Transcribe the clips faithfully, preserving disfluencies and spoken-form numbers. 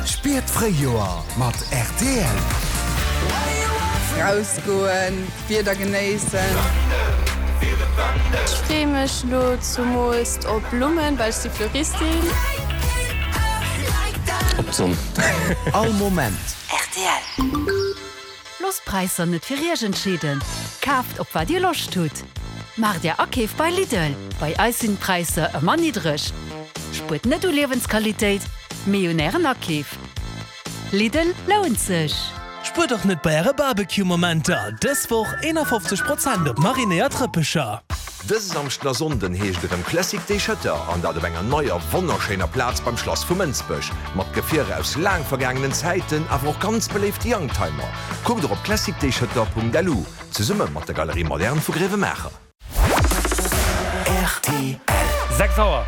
Spier d'Fréijoer mat rtl. Rausgoen, d'Wieder genéissen. Ech freeë mech lo zumools op Blummen, well ech si Fleuristin. Op d'Sonn. All Moment. Rtl. Loosst d'Präisser net fir Iech entscheeden, kaaft op wat Dir Loscht hutt. Maacht Är Akeef bei Lidl, bei eis sinn d'Präisser ëmmer niddreg. Spuert net u Liewensqualitéit, mee un Ären Akeef. Lidl lount sech! Spuert och net bei äre Barbecue-Momenter! Dës Woch eenafofzeg Prozent op marinéiert Rëppecher! Dëse Samschden a Sonnden heescht et erëm Classic Day Schëtter, an dat op enger neier, wonnerschéiner Plaz beim Schlass vu Mënsbech. Mat Gefierer aus laang vergaangenen Zäiten, awer och ganz beléifte Youngtimer. Kuckt och op classicdayschëtter.lu, zesumme mat der Galerie Moderne vu Gréiwemaacher. Rtl. Sechs Auer.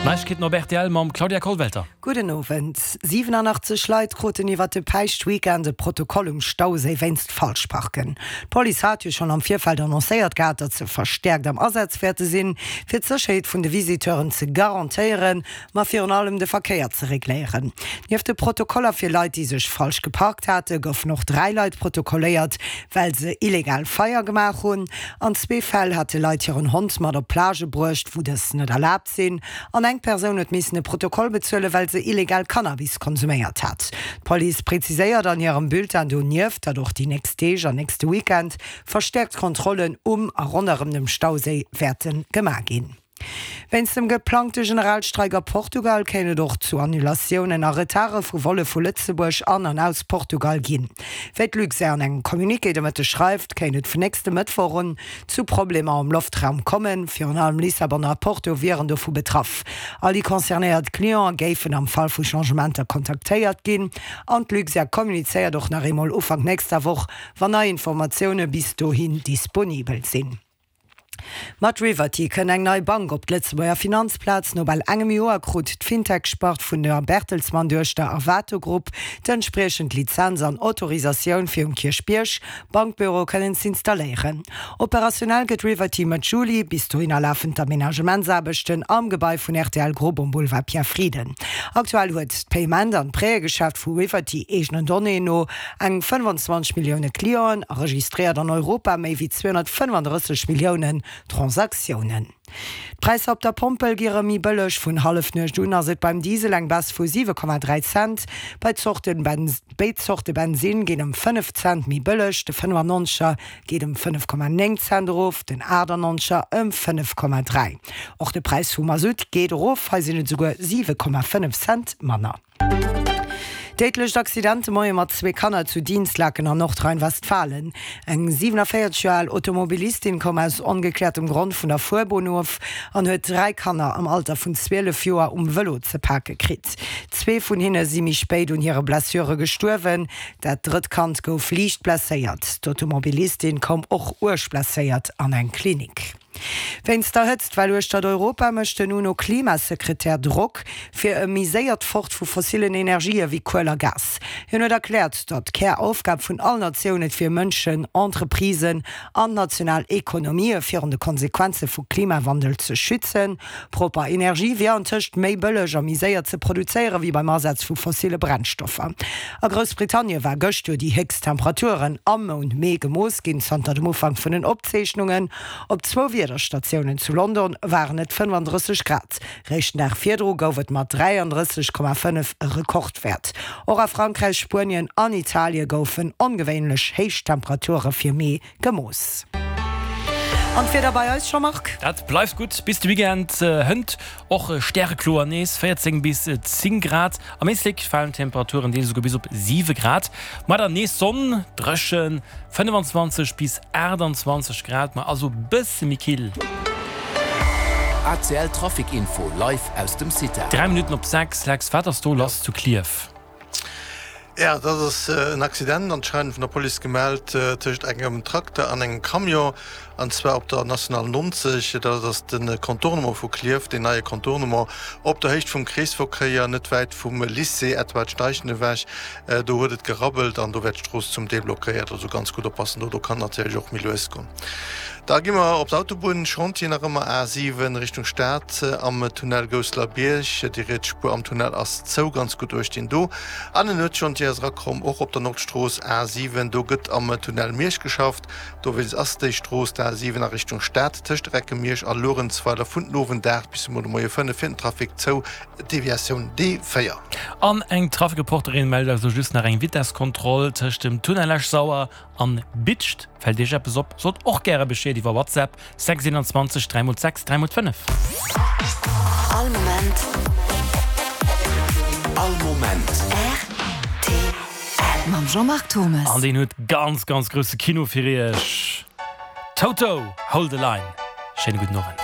Neiegkeeten op rtl mam Claudia Kollwelter. Gudden Owend. siwenanachtzeg Leit kruten iwwert de Päischtweekend e Protokoll um Stauséi wéinst Falschparken. D'Police hat jo schonn am Virfeld annoncéiert gehat, datt se verstäerkt am Asaz wäerte sinn, fir d'Sécherheet vun de Visiteuren ze garantéieren, ma virun allem de Verkéier ze regléieren. Nieft de Protokoller fir Leit, déi sech falsch geparkt hate, goufen och dräi Leit protokolléiert, well se illegal Feier gemaach hunn. An zwee Fäll hate Leit hiren Hond mat op Plagë bruecht, wou dës net erlaabt sinn. An eng Persoun huet missen e Protokoll bezuelen, well se illegal Cannabis konsuméiert hat. D'Police präziséiert an hirem Bulletin donieft, datt och déi nächst Deeg an nächste Weekend verstäerkt Kontrollen um a ronderëm dem Stauséi wäerte gemaach ginn. Wéinst dem geplangte Generalstreik a Portugal kéint et och zu Annulatiounen a Retarde vu Volle vu Lëtzebuerg an an aus Portugal ginn. Wéi d'Luxair an engem Communiqué de Mëtteg schreift, kéint et vun nächste Mëttwoch un zu Problemer am Loftraum kommen. Virun allem Lissabon a Porto wieren dovu betraff. All déi concernéiert Cliente géifen am Fall vu Changementer kontaktéiert ginn. An d'Luxair kommunizéiert och nach eemol Ufank nächster Woch, wann nei Informatioune bis dohin disponibel sinn. Mat Riverty kënn eng nei Bank op d'Lëtzebuerger Finanzplaz. No bal engem Joer krut d'Fintech-Spart vun der Bertelsmann-Duechter Arvato Group d'entspriechend Lizenz an Autorisatioun fir um Kierchbierg Bankbüro kënnen z'installéieren. Operationell gëtt Riverty Mëtt Juli. Bis dohinner lafen d'Amenagementsaarbechten am Gebai vun rtl Group um Boulevard Pierre Frieden. Aktuell huet d'Payment an d'Prêtëgeschäft vu Riverty eegenen Donnéeën no eng fënnwanzwanzeg Millioune Clienten a registréiert an Europa méi wéi zweehonnertfënnwanddrësseg Milliounen Transaktiounen. D'Präisser op der Pompel gi rëm méi bëlleg. Vun Hallefnuecht un ass et beim Diesel eng Baisse vu siwe Komma dräi Cent. Bei Zorte Béid Zorte Bensinn ginn ëm fënnef Cent méi bëlleg, de fënnefannonzeger geet ëm fënnef Komma néng Cent erof, den aachtannonzeger ëm fënnef Komma dräi. Och de Präis vum Masutt geet erof, hei sinn et esouguer siwe Komma fënnef Cent manner. Déidlecht Accident de Moie mat zwee Kanner zu Dinslaken an Nordrhein-Westfalen. Eng siwenavéierzeg Joer al Automobilistin koum aus ongekläertem Grond vun der Fuerbunn of an huet dräi Kanner am Alter vun zwielef Joer um Vëlo ze pake kritt. Zwee vun hinne si méi spéit un hire Blessure gestuerwen, dat drëtt Kand gouf liicht blesséiert. D'Automobilistin koum och uerg blesséiert an eng Klinik. Wéinst der Hëtztwell uechtert Europa mécht den UNO-Klimasekretär Drock fir e méi séiert Fort vu fossillen Energië wéi Kuel a Gas. Hien huet erkläert, datt d'Käraufgab vun all Natioun et wier, Mënschen, Entreprisen an national Ekonomië virun de Konsequenze vu Klimawandel ze schützen. Propper Energie wier antëscht méi bëlleg a méi séier ze produzéiere wéi beim Asaz vu fossille Brennstoffer. A Groussbritannie war gëscht jo déi héchst Temperaturen am Mount Mee gemooss ginn zanter dem Ufank vun den Opzeechnungen. Op zwou Wiederstatiounen zu London waren et fënnwanddrësseg Grad. Réischt den Dag virdru gouf et mat dräiandrësseg Komma fënnef e Rekordwäert. Och a Frankräich, Spuenien an Italie goufen ongewéinlech héich Temperature fir Mee gemooss. An d'Wieder bei eis, Jean-Marc? Dat bleift gutt bis de Weekend hënt. Och stärekloer nees, véierzéng bis zéng Grad. Am Éislek falen d'Temperaturen deels esouguer bis op siwe Grad. Mar dann nees Sonn, dréchen, fënnefanzwanzeg bis aachtanzwanzeg Grad, ma also bësse méi kill. A C L Trafic Info live aus dem CITA. Dräi Minutten op sechs, Lex, wat ass do lass zu Klierf? Jo, dat ass en Accident anscheinend vun der Police gemellt, tëscht engem Trakter an engem Camion. An zwar op der National neunzeg, dat ass de Contournement vu Klierf, deen neie Contournement op der Héicht vum Kreesverkéier, net wäit vum Lycée Edward Steichen ewech. Do huet et gerabbelt an do wär d'Strooss zum Deel blockéiert. Also ganz gutt oppassen do, do kann natierlech och méi lues goen. Da gi mer op d'Autobunn, Chantier nach ëmmer A siwen Richtung Stad am Tunnel Gousselerbierg. Déi riets Spuer am Tunnel ass zou, ganz gutt uecht dinn do. An en Nuetschantier ass erakomm, och op der Nordstrooss A siwen. Do gëtt am Tunnel Miersch geschafft. Dowéinst ass déi Strooss, d'A siwen a Richtung Stad, tëscht Recke-Miersch a Luerenzweiler vun den Owend aacht bis emol de Moie fënnef fir den Trafic zou, Deviatioun D véier. An eng Traficreporterin mellt eis elo just nach eng Vitesskontroll tëscht dem Tunnel Esch-Sauer an Bitscht. Fält Iech eppes op? Sot och gäre Bescheed iwwer WhatsApp, sechs eenanzwanzeg dräi mol sechs dräi mol fënnef. All Moment. All Moment. Rtl. Mam Jean-Marc Thomes. An deen huet ganz, ganz grousse Kino fir Iech. Toto, Hold the Line. Schéine gudden Owend.